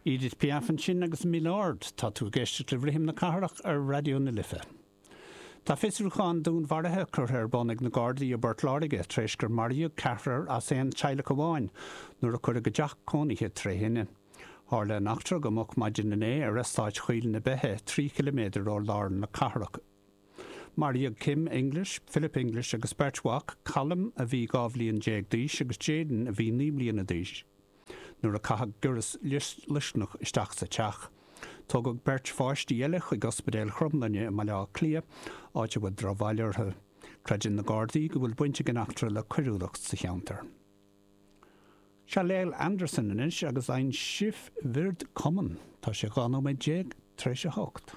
Edith Piaf ansin agus Milord. Tá tú ag éisteacht le Rithim na Cathrach ar Raidió na Life. Tá fiosrúchán dúnmharaithe curtha ar bun ag na Gardaí i bPort Láirge tar éis gur maraíodh ceathrar as aon teaghlach amháin nuair a cuireadh a dteach cónaithe tré thine. Tharla an eachtra go moch maidin inné ar eastát Choill na Beithe, 3 chiliméadar ó lár na cathrach. Maraíodh Kim English, Philip English agus beirt mhac, Callum a bhí 12 bhliain d'aois agus Jayden a bhí 9 mbliana d'aois, nuair a caitheadh giorras loiscneach isteach sa teach. Tógadh beirt pháistí eile chuig Ospidéal Chromghlinne i mBaile Átha Cliath, áit a bhfuil drochbhail orthu. Creideann na Gardaí go bhfuil baint ag an eachtra le coiriúlacht sa cheantar. Seo Lale Andersen anois agus Ein Schiff wird kommen. Tá sé 12 nóiméad tar éis a hocht.